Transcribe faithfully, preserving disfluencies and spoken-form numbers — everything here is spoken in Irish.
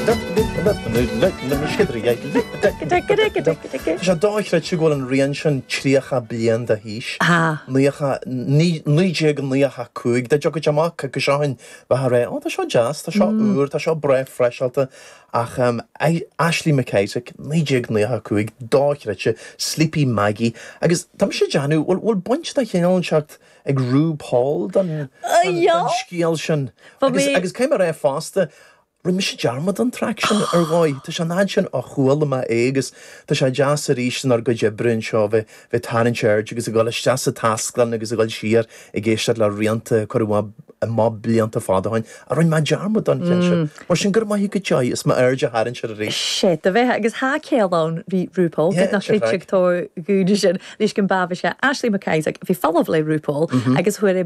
Tá sé dochreidte go bhfuil an rian sin tríocha bliain d'aois. Naoi déag naocha cúig dá dtiocfadh amach go seo bheith rá ó tá seo deas, tá seo úr, tá seo breá freiseáilte ach um, Ashley MacIsaac naoi déag naocha cúig dochreidte Sleepy Maggie agus tá sé déanamh bhfuil baint de chineál seacht ag RuPaul don scéal sin agus cé mar é fosta Rinne mise dearmad an track sin ar dhóigh Tá sé nád sin á chuala mé é agus tá sé deas arís inár gcuid oibre anseo bheith bheith tarraingt aird agus ag dul isteach sa taisclann agus ag dul siar ag éisteacht le rianta cuireadh amach blianta fada ó shin a rinne mé dearmad an ceann sin. Mar sin gur maith go dtí is m'aird a tharraingt ar arís. Sé do bheith agus há céal ann bhí RuPaul nach sé tó gúide sin leis go bhá sé Ashley MacIsaac bhí follow le RuPaul agus chuir é